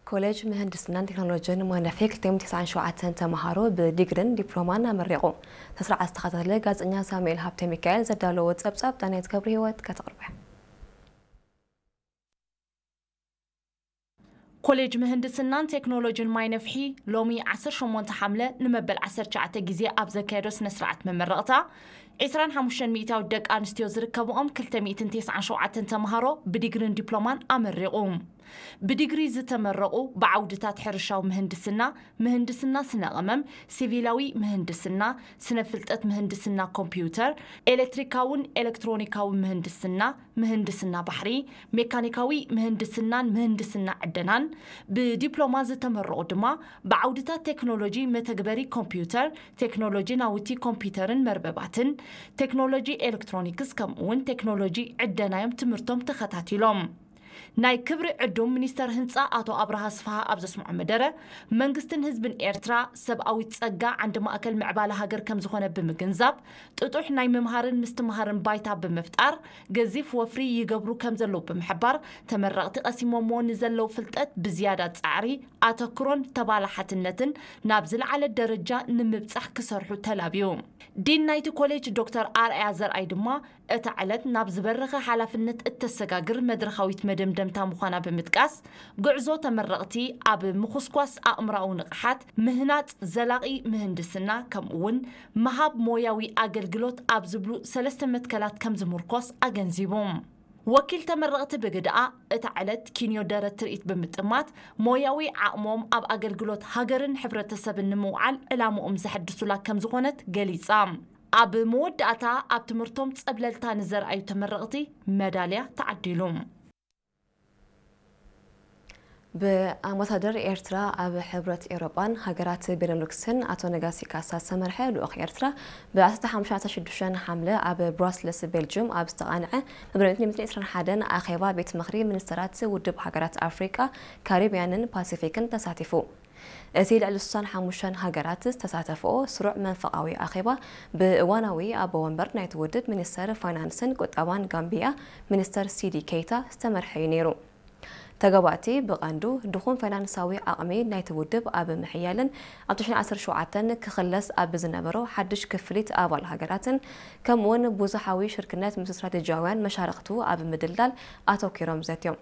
ኮሌጅ ምህንድስናን ቴክኖሎጂን ማይ ነፍሒ ክልተ ሚእትን ተስዓን ሸውዓተን ተምሃሮ ብዲግሪን ዲፕሎማን ኣመሪቑ። ስነ ስርዓት ዝተኸታተለ ጋዜጠኛ ሳሙኤል ሃብተ ሚካኤል ዘዳለዎ ጸብጻብ ዳንያት ገብረ ህይወት ከተቕርበ። ኮሌጅ ምህንድስናን ቴክኖሎጂን ማይ ነፍሒ ሎሚ ዓሰርተ ሸሞንተ ሓምለ ንመበል ዓሰርተ ትሽዓተ ግዜ ኣብ ዘካየዶ ስነ ስርዓት መመረቕታ፣ ዕስራን ሓሙሽተን ሚእታዊት ደቂ ኣንስትዮ ዝርከብኦም ክልተ ሚእትን ተስዓን ሸውዓተን ተምሃሮ ብዲግሪን ዲፕሎማን ኣመሪቑ። ብዲግሪ ዝተመረቑ ብዓውድታት ሕርሻዊ ምህንድስና፣ ምህንድስና ስነ ቀመም፣ ሲቪላዊ ምህንድስና፣ ስነ ፍልጠት ምህንድስና ኮምፒውተር፣ ኤሌክትሪካውን ኤሌክትሮኒካዊ ምህንድስና፣ ምህንድስና ባሕሪ፣ ሜካኒካዊ ምህንድስናን ምህንድስና ዕደናን፣ ብዲፕሎማ ዝተመረቑ ድማ ብዓውድታት ቴክኖሎጂ መተግበሪ ኮምፒውተር፣ ቴክኖሎጂ ናውቲ ኮምፒውተርን መርበባትን፣ ቴክኖሎጂ ኤሌክትሮኒክስ ከምኡ እውን ቴክኖሎጂ ዕደና እዮም ትምህርቶም ተኸታቲሎም። ናይ ክብሪ ዕዱም ሚኒስተር ህንጻ ኣቶ ኣብርሃ ኣስፍሃ ኣብ ዘስምዖ መደረ፣ መንግስትን ህዝብን ኤርትራ ሰብኣዊ ጸጋ ዓንዲ ማእከል ምዕባለ ሃገር ከም ዝኾነ ብምግንዛብ፣ ጥጡሕ ናይ ምምሃርን ምስትምሃርን ባይታ ብምፍጣር፣ ገዚፍ ወፍሪ ይገብሩ ከም ዘለዉ ብምሕባር፣ ተመረቕቲ ቀሲሞምዎ ንዘለዉ ፍልጠት ብዝያዳ ጻዕሪ፣ ኣተኩሮን ተባላሓትነትን ናብ ዝለዓለ ደረጃ ንምብጻሕ ክሰርሑ ተላብዩ። ዲን ናይቲ ኮሌጅ ዶክተር ኣርኣያ ዘርኣይ ድማ፣ እታ ዕለት ናብ ዝበረኸ ሓላፍነት እተሰጋግር መድረኻዊት መደምደምታ ምዃና ብምጥቃስ፣ ጉዕዞ ተመረቕቲ ኣብ ምኹስኳስ ኣእምሮኣዊ ንቕሓት፣ ምህናጽ ዘላቒ ምህንድስና፣ ከምኡ'ውን ምሃብ ሞያዊ ኣገልግሎት ኣብ ዝብሉ ሰለስተ መትከላት ከም ዝምርኮስ ኣገንዚቡ። ወኪል ተመረቕቲ ብግድኣ፣ እታ ዕለት ኪንዮ ደረት ትርኢት ብምጥማት፣ ሞያዊ ዓቕሞም ኣብ ኣገልግሎት ሃገርን ሕብረተሰብን ንምውዓል ዕላምኦም ዘሐድሱላ ከም ዝኾነት ገሊጻ። ኣብ መወዳእታ፣ ኣብ ትምህርቶም ጸብለልታ ንዘርኣዩ ተመረቕቲ መዳልያ ተዓዲሉ። ብኣምባሳደር ኤርትራ ኣብ ሕብረት ኤውሮጳን ሃገራት ቤነሉክስን ኣቶ ነጋሲ ካሳ ዝተመርሐ ልኡኽ ኤርትራ፣ ብ ዓሰርተ ሓሙሽተ ዓሰርተ ሽዱሽተ ሓምለ ኣብ ብራስለስ ቤልጅም ኣብ ዝተቓንዐ መበል ሚእትን ዕስራን ሓደን ኣኼባ ቤት ምኽሪ ሚኒስተራት ውድብ ሃገራት ኣፍሪቃ፣ ካሪብያንን ፓሲፊክን ተሳቲፉ። እቲ ልዕሊ ስሳን ሓሙሽተን ሃገራት ዝተሳተፍኦ ስሩዕ መንፈቓዊ ኣኼባ፣ ብእዋናዊ ኣቦ ወንበር ናይቲ ውድብ ሚኒስተር ፋይናንስን ቁጠባን ጋምቢያ፣ ሚኒስተር ሲዲ ኬይታ ዝተመርሐ እዩ ነይሩ። ተጋባእቲ ብቐንዱ ድኹም ፋይናንሳዊ ዓቕሚ ናይቲ ውድብ ኣብ ምሕያልን ኣብ ትሽዓን ዓሰርተ ሸውዓተን ክኽለስ ኣብ ዝነበሮ ሓድሽ ክፍሊት ኣባል ሃገራትን፣ ከምኡ'ውን ብዙሓዊ ሽርክነት ምስ ስትራቴጂያውያን መሻርኽቱ ኣብ ምድልዳል ኣተኲሮም ዘትዮም።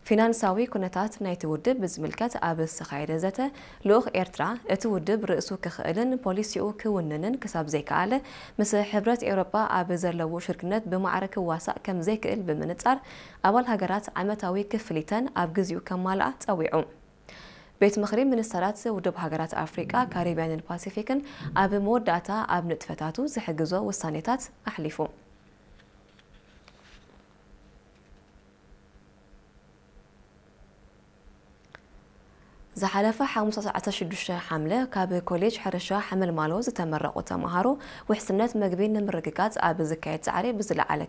ፊናንሳዊ ኩነታት ናይቲ ውድብ ብዝምልከት ኣብ ዝተኻየደ ዘተ፣ ልኡኽ ኤርትራ፣ እቲ ውድብ ርእሱ ክኽእልን ፖሊሲኡ ክውንንን ክሳብ ዘይከኣለ፣ ምስ ሕብረት ኤውሮጳ ኣብ ዘለዎ ሽርክነት ብማዕረ ክዋሳእ ከም ዘይክእል ብምንጻር፣ ኣባል ሃገራት ዓመታዊ ክፍሊተን ኣብ ግዜኡ ከማልኣ ጸዊዑ። ቤት ምኽሪ ሚኒስተራት ውድብ ሃገራት ኣፍሪቃ፣ ካሪብያንን ፓሲፊክን ኣብ መወዳእታ ኣብ ንጥፈታቱ ዝሕግዞ ውሳኔታት ኣሕሊፉ። ዝሓለፈ ሓሙስ ዓሰርተ ሽዱሽተ ሓምለ ካብ ኮሌጅ ሕርሻ ሓመልማሎ ዝተመረቑ ተምሃሮ ውሕስነት መግቢ ንምርግጋጽ ኣብ ዝካየድ ጻዕሪ ብዝለዓለ